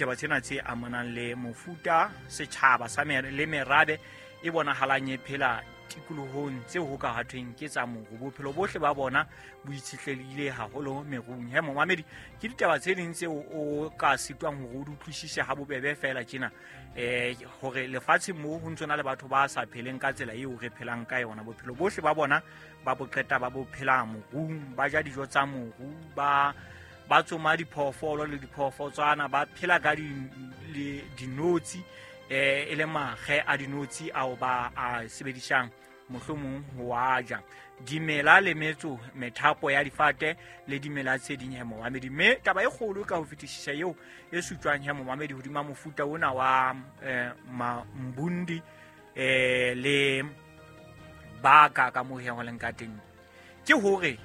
Ditaba tsena tse amanang le mofuta setjhaba sa le merabe e bonahalang e phela tikolohong tseo ho ka hathweng ke tsa moru. Bophelo bohle ba bona bo itshetlehile haholo merung. He momamedi, ke ditaba tse ding tseo o ka sitwang hore o di utlwisise ha bobebe fela tjena, hore lefatsheng moo ho ntso na le batho ba sa pheleng ka tsela eo re phelang ka yona. Bophelo bohle ba bona ba bo qeta ba bo phela morung, ba ja dijo tsa moru, ba tsoma diphoofolo le diphoofotswana, ba phela ka dinotshi, e le makge a dinotshi ao ba a sebedisang mohlomong ho a ja. Dimela le metso, methapo ya difate le dimela tse ding he momamedi. Mme taba e kgolo ka ho fetisisa eo e sutswang he momamedi hodima mofuta ona wa Mbundi le baka ka moo he ho leng ka teng, ke hore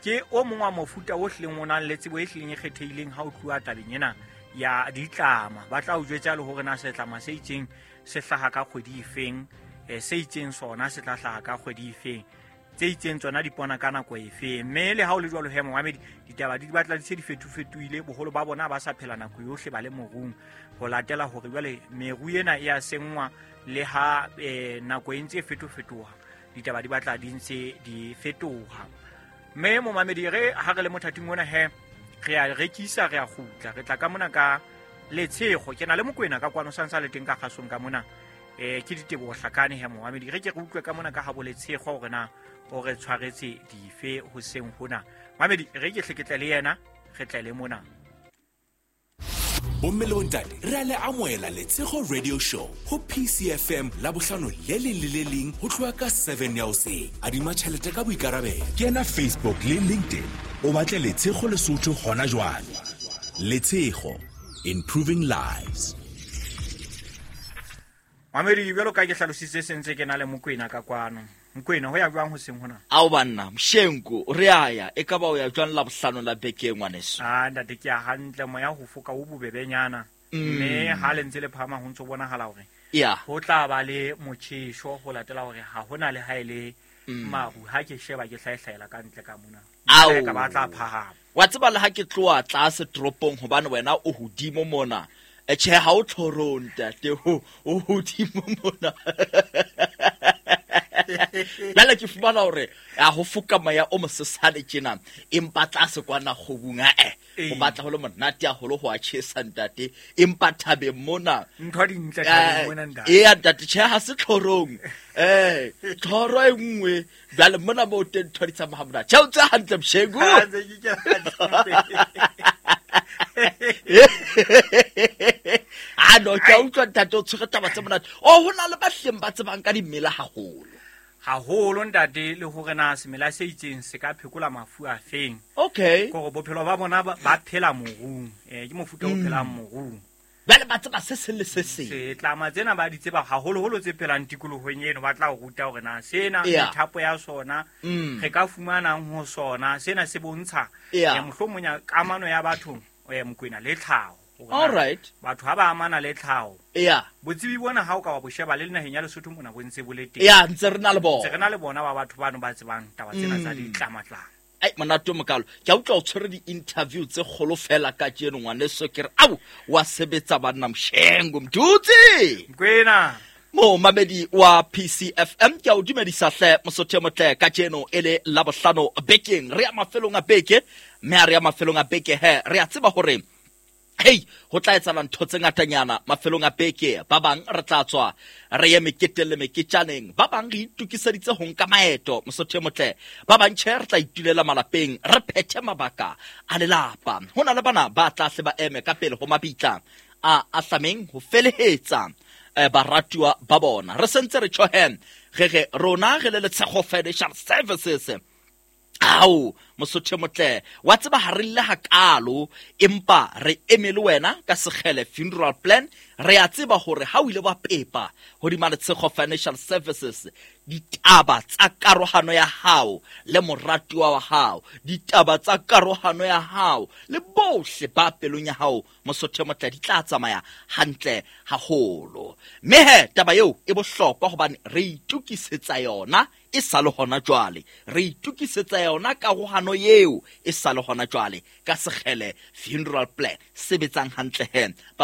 ke o mong wa mofuta o hlileng o nang le tsebo e hlileng e kgethehileng ha o tluwa tabeng ena ya ditlama. Ba tla o jwetsa le hore na setlama se itseng se hlaha ka kgwedi efeng, se itseng sona se tla hlaha ka kgwedi efeng, tse itseng tsona di pona ka nako efeng. Mme le ha o le jwalo he momamedi, ditaba di batla di se di fetofetohile. Boholo ba bona ba sa phela nako yohle ba le morung, ho latela hore jwale meru ena e a senngwa le ha nako e ntse e fetofetoha, ditaba di batla di ntse di fetoha. Mme momamedi, re ha re le mothating ona he, re a rekisa, re a kgutla, re tla ka mona ka Letshego. Ke na le Mokwena ka kwano sa ntsa le teng ka kgasong ka mona, ke Diteboho Hlakane he momamedi. Re ke re utlwe ka mona ka habo Letshego hore na o re tshwaretse dife hoseng hona. Mamedi, re ke hle ke tle le yena, re tle le mona. Bomme le bontate, re a le amohela Letshego Radio Show ho PCFM la bohlano le leng le le leng ho tloha ka 7 ya hoseng. Adima tjhelete ka boikarabelo. Kena Facebook le LinkedIn, o batle Letshego Lesotho hona jwale. Letshego, improving lives. Mamedi, jwalo ka ke hlalositse sentse ke na le Mokwena ka kwano. Mokwena, ho ya jwang hoseng hona? Ao banna, Mshenku, re a ya. E ka ba o ya jwang la bohlano la beke ngwaneso? Ah, ntate, ke ya hantle, moya ho foka o bobebenyana. Mme ha le ntse le phahama ho ntso bonahala hore ho tla ba le motjheso ho latela hore ha hona le ha e le maru. Ha ke sheba ke hlaehlaela ka ntle ka mona. Ao. Ka ba tla phahama. Wa tseba le ha ke tloha tlase toropong hobane wena o hodimo mona. Tjhe, ha o tlhorong ntate, o hodimo mona. Jwale ke fumana hore a ho foka moya o mosesane tjena, empa tlase kwana kgobung, ho batla ho le monate haholo ho a tjhesa ntate, empa thabeng mona. Ntho di ntle thabeng mona ntate. Eya ntate, tjhe, ha se tlhorong. Tlhoro e nngwe, jwale mona moo teng ntho di tsamaya monate. Tjhe, o tse hantle Mshengu. Ha, ntse ke kena hantle. Ah, no, ke a utlwa ntate, o tshwere taba tse monate. Oh, ho na le ba hleng ba tsebang ka dimela haholo. Haholo ntate, le hore na semela se itseng se ka phekola mafu a feng. Kore bophelo ba bona ba phela morung. Ke mofuta o phelang morung. Jwale ba tseba se seng le se seng. Setlama tsena ba di tseba haholoholo tse phelang tikolohong eno, ba tla o ruta hore na sena methapo ya sona, re ka fumanang ho sona, sena se bontsha, mohlomong ya kamano ya batho, Mokwena le tlhaho. Hore na batho ha ba amana le tlhaho. Botsebi bona ha o ka wa bo sheba le naheng ya Lesotho mona bo ntse bo le teng. Ya, ntse re na le bona. Ntse re na le bona ba batho bano ba tsebang taba tsena tsa ditlamatlama. Ai, monate o mokalo. Ke a utlwa o tshwere di-interview tse kgolo fela kajeno, ngwaneso. Ke re, ao, wa sebetsa banna Mshengu, Mdutsi. Mokwena. Momamedi wa PCFM, ke a o dumedisa hle, Mosotho e motle, kajeno e le Labohlano bekeng. Re ya mafelong a beke, mme ha re ya mafelong a beke he, re a tseba hore hei, ho tla etsahala ntho tse ngatanyana mafelong a beke. Ba bang re tla tswa re ye meketeng le meketjaneng, ba bang re itokiseditse ho nka maeto, Mosotho e motle. Ba bang tjhe, re tla itulela malapeng, re phethe mabaka a lelapa. Ho na le bana ba tla hle ba eme ka pele ho mabitla a ahlameng ho felehetsa baratuwa ba bona. Re sentse re tjho he, re re rona re le Letshego Financial Services. Ao, Mosotho e motle, wa tseba ha re lle hakalo, empa re eme le wena ka Sekgele Funeral Plan. Re a tseba hore ha o ile wa pepa hodima Letshego Financial Services, ditaba tsa karohano ya hao le moratuwa wa hao, ditaba tsa karohano ya hao le bohle ba pelong ya hao, Mosotho e motle, di tla tsamaya hantle haholo. Mme he, taba eo e bohlokwa hobane re itokisetsa yona e sa le hona jwale. Re itokisetsa yona karohano eo e sa le hona jwale ka Sekgele Funeral Plan. Sebetsang hantle he.